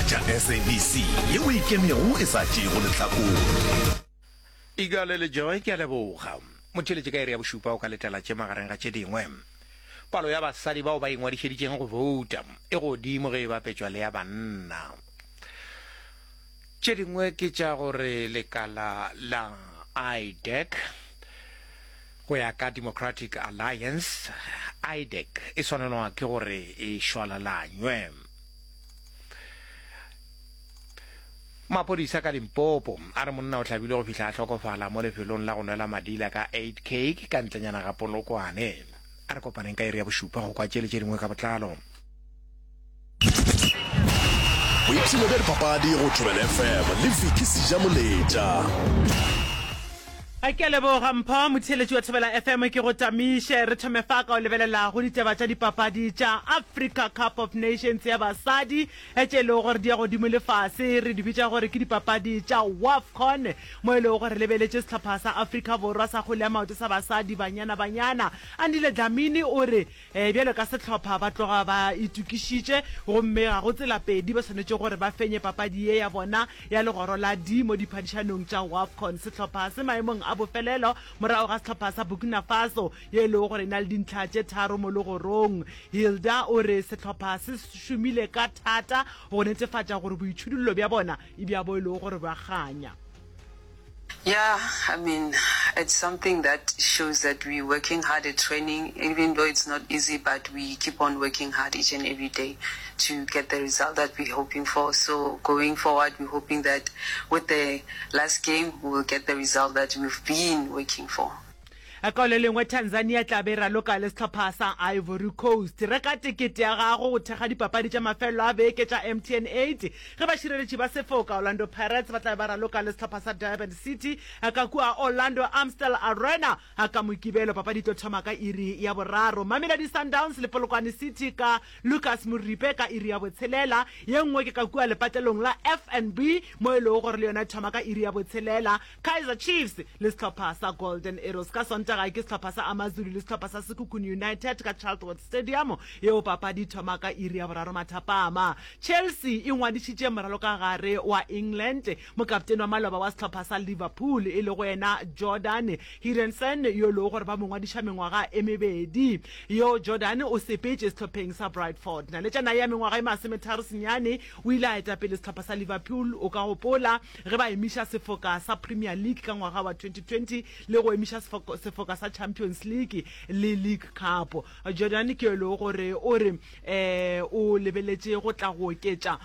Theeletša SABC yeo e ikemego e sa tšeego lehlakore. Igale le Joy, ke a leboga. Motheeletši ka iri ya bošupa o ka letela tše magareng ga tše dingwe. Palo ya basadi bao ba ingwadišeditšeng go bouta e godimo ge e bapetšwa le ya banna. Tše dingwe ke tša gore lekala la IDEC go ya ka Democratic Alliance, IDEC e swanelwa ke gore e šwalalanywe. Maphodisa ka Limpopo a re monna o hlabilwe go fihla a hlokofala mo lefelong la go nwela madila ka Uitkyk ka ntlenyana ga Polokwane. A re kopaneng ka iri ya bošupa go kwa tše le tše dingwe ka botlalo. Boipshino bja dipapadi go Thobela FM le Vicky Sejamoletša. Ke a leboga Mpho, motheeletši wa Thobela FM ke go tamiše. Re thome fa ka go lebelela go ditaba tša dipapadi tša Africa Cup of Nations ya basadi tše e lego gore di ya godimo le fase, re di bitša gore ke dipapadi tša WAFCON, mo e lego gore re lebeletše sehlopha sa Afrika Borwa sa kgwele ya maoto sa basadi Banyana Banyana. Andile Dlamini o re Bjalo ka sehlopha ba tloga ba itokišitše gomme ga go tsela pedi ba swanetše gore ba fenye papadi ye ya bona ya legoro la D mo diphadišanong tša WAFCON. Sehlopha se maemong a bofelelo morago ga sehlopha sa Burkina Faso ye e lego gore e na le dintlha tše tharo mo legorong. Hilda o re sehlopha se šomile ka thata go netefatša gore boitšhudullo bja bona e bja bo e lego gore bja kganya. Yeah, I mean, it's something that shows that we're working hard at training, even though it's not easy, but we keep on working hard each and every day to get the result that we're hoping for. So going forward, we're hoping that with the last game, we will get the result that we've been working for. Ka le lengwe, Tanzania e tla be e raloka le sehlopha sa Ivory Coast. Reka tekete ya gago go thekga dipapadi tša mafelelo a beke tša MTN 8 ge bašireletši ba sefoka Orlando Pirates ba tla be ba raloka le sehlopha sa Durban City ka kua Orlando Amstel Arena ka Mokibelo. Papadi e tlo thoma ka iri ya boraro. Mamelodi Sundowns le Polokwane City ka Lucas Moripe ka iri ya botshelela. Ye nngwe ke ka kua lepatlelong la FNB mo e lego gore le yona e thoma ka iri ya botshelela. Kaizer Chiefs le sehlopha sa Golden Arrows. Ka Sontaga ke sehlopha sa AmaZulu le sehlopha sa Sekhukhune United ka Charlesworth Stadium, yeo papadi e thoma ka iri ya boraro mathapama. Chelsea e ngwadišitše moralokagare wa England, mokaptene wa maloba wa sehlopha sa Liverpool e lego yena Jordan Henderson yo e lego gore ba mo ngwadiša mengwaga e mebedi. Yo Jordan o sepetše sehlopheng sa Brightford. Naletšana ya mengwaga e masometharo senyane o ile a eta pele sehlopha sa Liverpool, o ka gopola, Ge ba emiša sefoka sa Premier League ka ngwaga wa 2020 le go emiša sefoka sa Champions League le League Cup. Jordan ke yo e lego gore o re o lebeletše go tla go oketša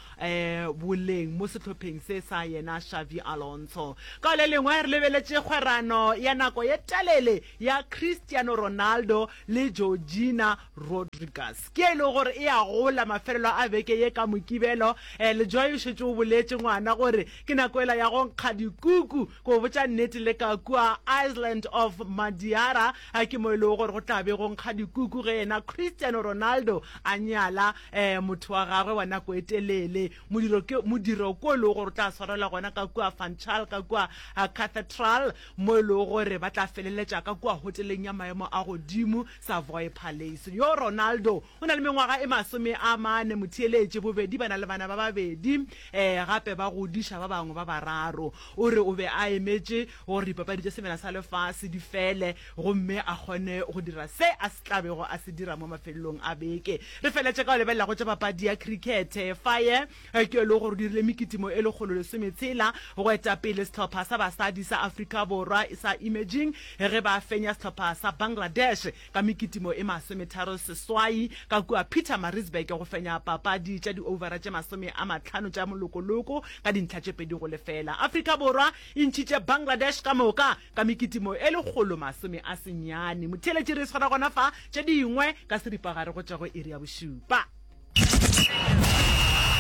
boleng mo sehlopheng se sa yena Xavi Alonso. Ka le lengwe re lebeletše kgwerano ya nako ye telele ya Cristiano Ronaldo le Georgina Rodriguez. Ke e lego gore e a gola mafelelo a beke ye ka Mokibelo. Lejoy o šetše o boletše ngwana gore ke nako yela ya go nkga dikuku. Ke go botša nnete le ka kua Island of Madiara ke mo e lego gore go tla be go nkga dikuku ge yena Cristiano Ronaldo a nyala motho wa gagwe wa nako e telele. Modiro ke modiro ko e lego gore o tla swarelwa gona ka kua Funchal ka kua Cathedral mo e lego gore ba tla feleletša ka kua hoteleng ya maemo a godimo Savoy Palace. Yo Ronaldo o na le mengwaga e 40, motheeletši, bobedi ba na le bana ba babedi gape ba godiša ba bangwe ba bararo. O re o be a emetše gore dipapadi tša Semela sa Lefase di fele gomme a kgone go dira se a se tla bego a se dira mo mafelelong a beke. Re feletše ka go lebelela go tša papadi ya krikete. Faye ke yo e lego gore o dirile mekitimo e 160 go eta pele sehlopha sa basadi sa Afrika Borwa sa Emerging ge ba fenya sehlopha sa Bangladesh ka mekitimo e 38 ka kua Pietermaritzburg go fenya papadi tša di-overa tše 50 tša molokoloko ka dintlha tše 2-0. Afrika Borwa e ntšhitše Bangladesh ka moka ka mekitimo e 190. Motheeletši re e swara gona fa, tše dingwe ka seripagare go tšwa go iri ya bošupa.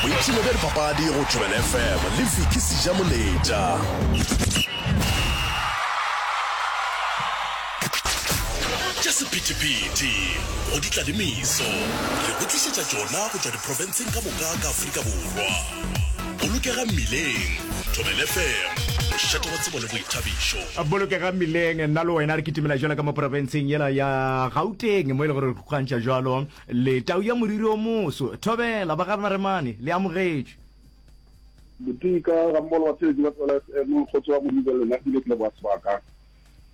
Boipshino bja dipapadi go Thobela FM le Vicky Sejamoletša. Tša sephethephethe go di tla le meso, re go tlišetša tšona go tšwa diprofenseng ka moka ka Afrika Borwa. Bolokega mmileng, Thobela FM, mošate wa tsebo le boithabišo. Bolokega mmileng, nna le wena re kitimela jwalo ka mo profenseng yela ya Gauteng mo e le gore re kgokantšha jwalo Le tau ya moriri o moso. Thobela, ba ga Maremane, le amogetšwe. Botika ga mmogo le batheeletši ba Thobela FM, kgotso ya Modimo le lena ebile ke leboga sebaka.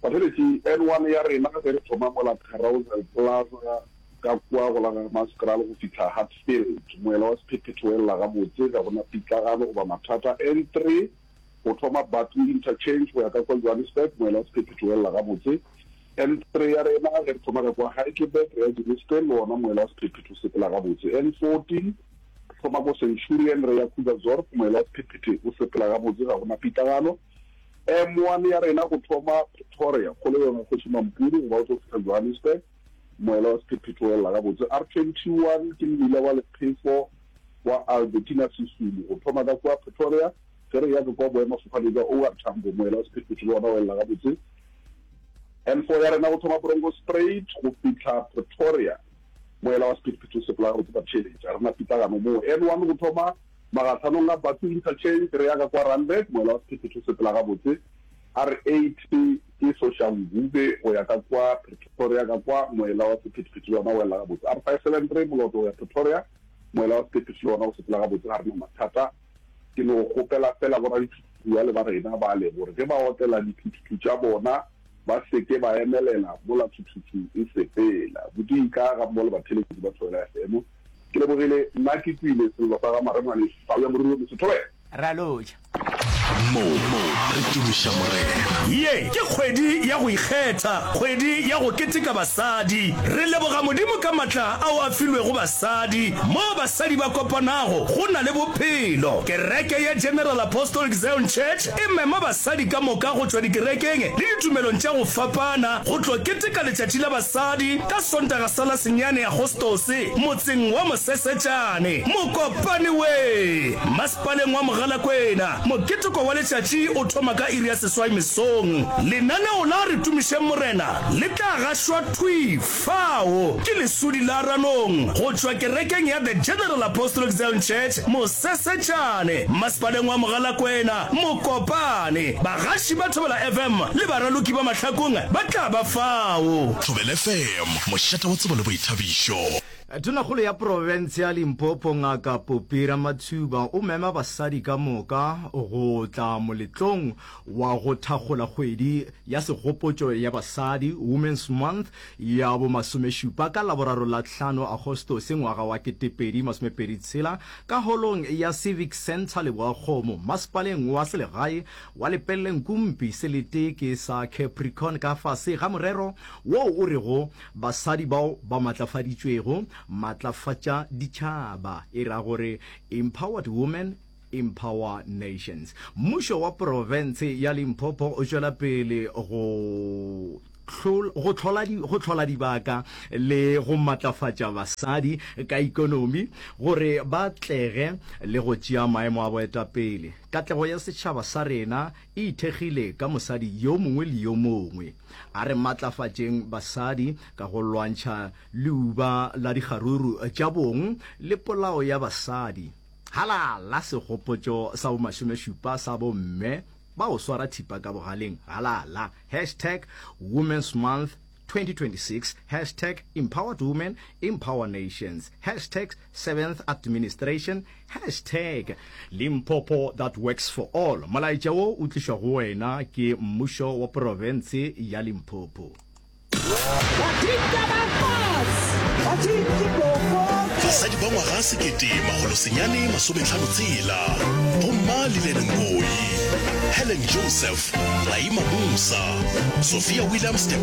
Batheeletši, N1 ya rena ge re thoma mola Carousel Plaza ka kua go la ga Hammanskraal go fihla Hatfield, moela wa sephethephethe o elela gabotse, ga go na pitlagano goba mathata. N3 go thoma Barkly Interchange go ya ka kua Johannesburg, moela wa sephethephethe o elela gabotse. N3 ya rena ge re thoma ka kua Heidelberg re ya Germiston, le wona moela wa sephethephethe o sepela gabotse. N40 Thoma ko Centurion re ya Krugersdorp, moela wa sephethephethe o sepela gabotse, ga go na pitlagano. M1 ya rena go thoma Pretoria, kgolegong ya Kgoši Mampuru go ba o tlo fihla Johannesburg, moela wa sephethephethe o elela gabotse. R21 ke mmila wa lephefo wa Albertina Sisulu go thoma ka kua Pretoria, ge re ya ka kua boemafofane bja OR Tambo, moela wa sephethephethe le wona o elela gabotse. N4 ya rena go thoma Bronkhorstspruit go fihla Pretoria, Moela wa sephethephethe o sepela gabotse ka theeletša. Ga re na pitlagano moo. N1 go thoma magahlanong a Bathu Interchange re ya ka kwa Randburg, moela wa sephethephethe o sepela gabotse. R8 ke Soshanguve go ya ka kwa Pretoria ka kwa, moela wa sephethephethe le wona o ela gabotse. R573 Moloto go ya Pretoria, moela wa sephethephethe le wona o sepela gabotse, ga re na mathata. Ke no kgopela feela boradithuthuthu bale ba rena bale gore ge ba otlela dithuthuthu tša bona, Ba se ke ba emelela mola thuthuthu e sepela. Bodika gammogo le batheeletši ba Thobela FM. Ke lebogile, nna ke kwile sello sa ga Maremane Tau ya Moriri o Moso. Thobela! Re a lotšha. Mo re tumiša Morena. Ye ke kgwedi ya go ikgetha, kgwedi ya go keteka basadi. Re leboga Modimo ka matla ao a filwego basadi. Mo basadi ba kopanago, go na le bophelo. Kereke ya General Apostolic Zion Church e mema basadi ka moka go tšwa dikerekeng le ditumelong tša go fapana go tlo keteka Letšatši la Basadi ka Sontaga sa la senyane Agostose motseng wa Mosesetšane, Mokopane we, masepaleng wa Mogalakwena. Moketeko wa letšatši o thoma ka iri ya seswai mesong. Lenaneo la Re Tumišeng Morena le tla gašwa thwi fao ke Lesodi la Ranong go tšwa kerekeng ya The General Apostolic Zion Church, Mosesetšane, masepaleng wa Mogalakwena, Mokopane. Bagaši ba Thobela FM le baraloki ba Mahlakong ba tla ba fao. Thobela FM, mošate wa tsebo le boithabišo. Tonakgolo ya profense ya Limpopo Ngaka Poppy Ramathuba o mema basadi ka moka go tla moletlong wa go thakgola kgwedi ya segopotšo ya basadi, Women's Month, ya bomasomešupa ka Laboraro la hlano Agostose ngwaga wa 2026 ka holong ya Civic Centre Leboakgomo, masepaleng wa selegae wa Lepelle-Nkumpi, selete ke sa Capricorn ka fase ga morero woo o rego Basadi bao ba matlafaditšwego, Matlafatša Ditšhaba, e ra gore Empowered Women, Empower Nations. Mmušo wa profense ya Limpopo o tšwela pele go go hlola go hlola dibaka le go matlafatša basadi ka ikonomi gore ba atlege le go tšea maemo a boetapele. Katlego ya setšhaba sa rena e ithekgile ka mosadi yo mongwe le yo mongwe. A re matlafatšeng basadi ka go lwantšha leuba la dikgaruru tša bong le polao ya basadi. Halala segopotšo sa bomasomešupa sa bomme ba go swara thipa ka bogaleng halala hashtag Women's Month 2026 hashtag Empowered Women Empower Nations hashtag Seventh Administration hashtag Limpopo that works for all Molaetša wo o tlišwa go wena ke mmušo wa profense ya Limpopo. Basadi ba ngwaga 1956, Bomma Lillian Ngoyi, Helen Joseph, Raima Moosa, Sophia Williams de.